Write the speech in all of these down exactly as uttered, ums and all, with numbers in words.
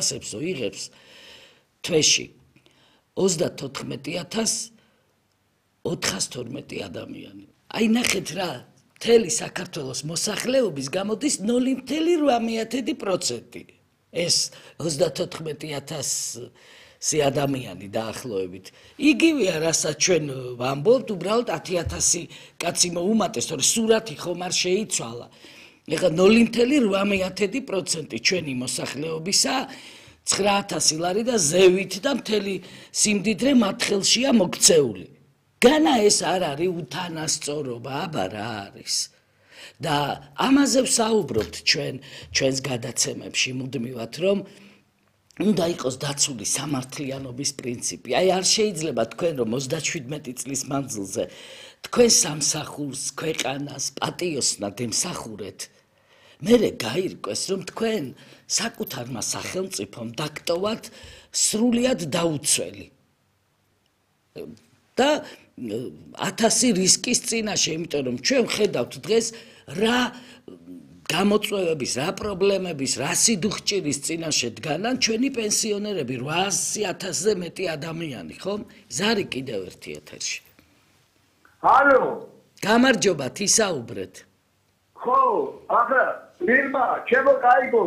ასებსო იღებს თვეში ოცდათოთხმეტი ათას ოთხასთორმეტი ადამიანი. Აი ნახეთ რა, მთელი საქართველოს მოსახლეობის გამოდის ნული მცდელო რვა პროცენტი. ეს ოცდათოთხმეტი ათასი ადამიანი დაახლოებით. იგივეა, რასაც ჩვენ ვამბობთ, უბრალოდ ათი ათასი კაცი მოუმატეს, თორე სურათი ხომ არ შეიცვალა. ეხლა ნული მცდელო რვა პროცენტი ჩვენი მოსახლეობისა ცხრა ათასი ლარი და ზევით და მთელი სიმდიდრე მათ ხელშია მოქცეული. განა ეს არ არის უთანასწორობა, აბა რა არის. და ამაზე ვსაუბრობთ ჩვენ ჩვენს გადაცემებში მუდმივად, რომ უნდა იყოს დაცული სამართლიანობის პრინციპი. აი არ შეიძლება თქვენ რომ ოცდაშვიდმეტი წლის მანძილზე თქვენ სამსახურს, ქვეყანას, პატიოსნად ემსახურეთ. მერე გაირკვეს რომ თქვენ საკუთარმა სახელმწიფომ დაგტოვათ სრულიად დაუცველი. და ათასი რისკის წინაშე, იმიტომ რომ ჩვენ ვხედავთ დღეს რა გამოწვევების, რა პრობლემების, რა სიდუხჭირის წინაშე დგანან ჩვენი პენსიონერები, რვაასი ათასზე მეტი ადამიანი, ხომ? ზარი კიდევ ერთი ეთერში. ალო, გამარჯობათ, ისაუბრეთ. ხო, ახლა მირმა, ჩემო კაიგო,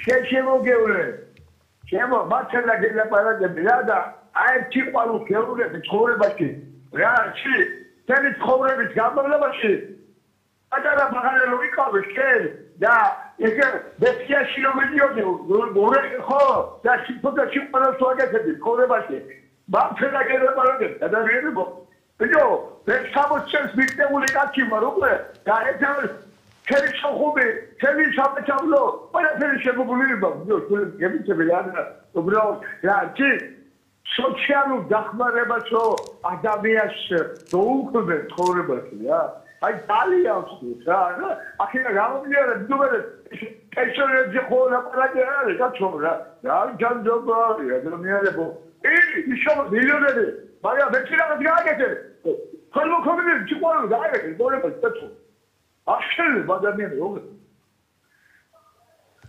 შენ შემოგევლე. ჩემო მართლა გელაპარაკები რა და აი თიყვანო გეულები ცხოვრებაში. რა ჩი, თემი ცხოვრების გამავლობაში. ატარა მაგალითად ვიყავი შენ და ესე ბექიაში რომ მიდიოდი, გორე ხო, და სიტყვა სიტყვა სვაგეთები ცხოვრებაში. მართლა გელაპარაკები და რეალობ. ბიჭო, ეს სამოცდას მიტეული კაცი ვარ უკვე და ეს ჩემი შეხუბი, ჩემი სამეცნიერო, ყველაფერი შემოგვიება, ბიჭო, გემიცები რა და უბრალოდ რა ჩი სოციალურ დახმარებასო ადამიანს დაუკვირდეთ ცხოვრებაში რა. აი ძალიან ვსწრით რა. ახლა გამომიარა დუბერე პენსიონერებზე ხო ლაპარაკი არ არის კაცო რა. რა ჯანდობა ადამიანებო. ი ისო მილიონერი, მაგრამ მე შეიძლება გააკეთე. ხოლმე ხოლმე ჩიყვანო გააკეთე ცხოვრებაში კაცო. ახლა ადამიანები როგორ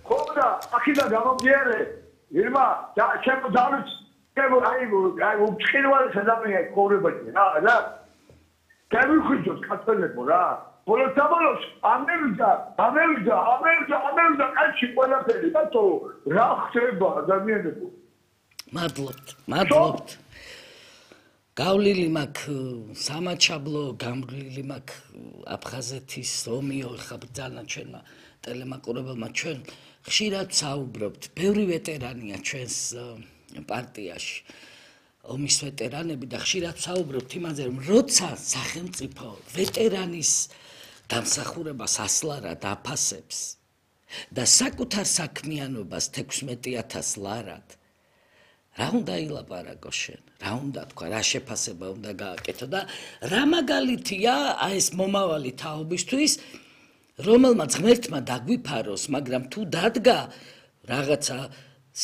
ხოდა ახლა გამომიარე ირმა და ჩემო დავით ჩემო აი აი უცხინვალე ადამიანები ცხოვრებაში რა რა გამიხუჯოთ კაცოლებო რა ბოლოს საბოლოოს ამერიკა ამერიკა ამერიკა ამერიკა კაცი ყველაფერი კაცო რა ხდება ადამიანებო მადლობთ მადლობთ გავლილი მაქვს სამაჩაბლო, გავლილი მაქვს აფხაზეთის, ომიო, ხა ბრძანა ჩვენმა ტელემაყურებელმა ჩვენ ხშირად საუბრობთ, ბევრი ვეტერანია ჩვენს პარტიაში, ომის ვეტერანები და ხშირად საუბრობთ იმაზე, რომ როცა სახელმწიფო ვეტერანის დამსახურებას ასლარად აფასებს და საკუთარ საქმიანობას თექვსმეტი ათას ლარად რა უნდა ილაპარაკო შენ, რა უნდა თქვა, რა შეფასება უნდა გააკეთო და რა მაგალითია აი ეს მომავალი თაობისთვის, რომელმაც ღმერთმა დაგვიფაროს, მაგრამ თუ დადგა რაღაცა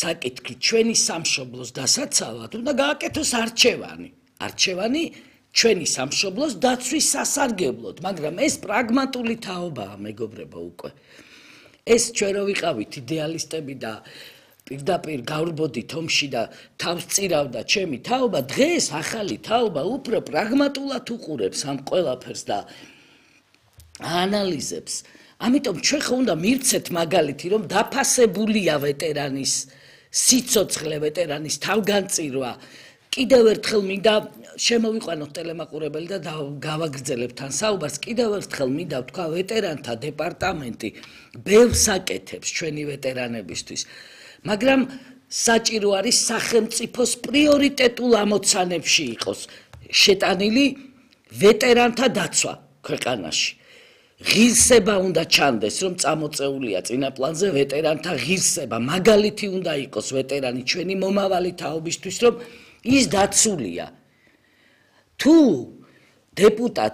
საკითხი ჩვენი სამშობლოს დასაცავად, უნდა გააკეთოს არჩევანი. არჩევანი ჩვენი სამშობლოს დაცვის სასარგებლოდ, მაგრამ ეს პრაგმატული თაობაა, მეგობრებო უკვე. ეს ჩვენ რო ვიყავით იდეალისტები და პირდაპირ გავრბოდით ომში და თავს წირავდა ჩემი თაობა, დღეს ახალი თაობა უფრო პრაგმატულად უყურებს ამ ყველაფერს და აანალიზებს. ამიტომ ჩვენ ხო უნდა მივცეთ მაგალითი, რომ დაფასებულია ვეტერანის სიცოცხლე, ვეტერანის თავგანწირვა. კიდევ ერთხელ მინდა შემოვიყვანოთ ტელემაყურებელი და გავაგრძელებთ თან საუბარს. კიდევ ერთხელ მინდა ვთქვა ვეტერანთა დეპარტამენტი ბევრს აკეთებს ჩვენი ვეტერანებისთვის. მაგრამ საჭირო არის სახელმწიფოს პრიორიტეტულ ამოცანებში იყოს შეტანილი ვეტერანთა დაცვა ქვეყანაში. ღირსება უნდა ჩანდეს, რომ წამოწეულია წინა პლანზე ვეტერანთა ღირსება. მაგალითი უნდა იყოს ვეტერანი ჩვენი მომავალი თაობისთვის, რომ ის დაცულია. თუ დეპუტატ